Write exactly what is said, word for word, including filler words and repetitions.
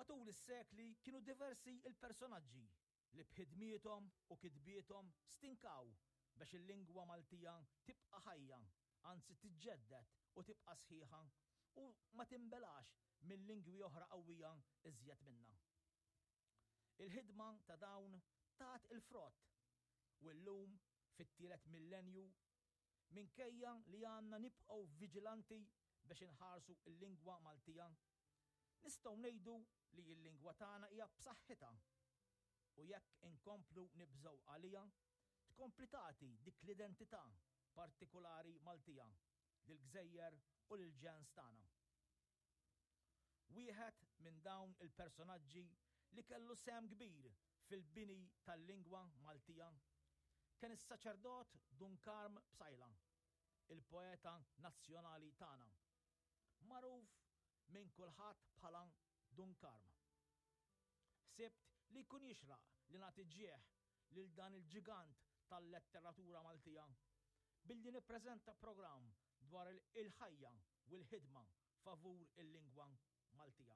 Matul is-sekli kienu diversi il-personaġġi li b'ħidmiethom u kitbiethom stinkaw biex il-lingwa Maltija tibqa' ħajja, anzi tiġġedded u tibqa' sħiħa u ma tinbelax minn lingwi oħra qawwija iżjed minna. Il-ħidma ta' dawn tat il-frott u llum fit-tielet millenju, minkejja li għandna nibqgħu viġilanti biex inħarsu l-lingwa Maltija, nistgħu ngħidu li l-lingwa tagħna hija b'saħħitha u jekk inkomplu nibżgħu għaliha, tkompli tagħti dik l-identità partikulari Maltija lill-gżejjer u lill-ġens tagħna. Wieħed minn dawn il-personaġġi li kellu sehem kbir fil-bini tal-lingwa Maltija kien is-saċerdot Dun Karm Psaila, il-poeta nazzjonali tagħna, magħruf minn kulħadd bħala Dun Karm. Ħsibt li jkun jixraq li nagħti ġieħ lil dan il-ġigant tal-letteratura Maltija billi nippreżenta programm dwar il-ħajja u l-ħidma favur il-lingwa Maltija.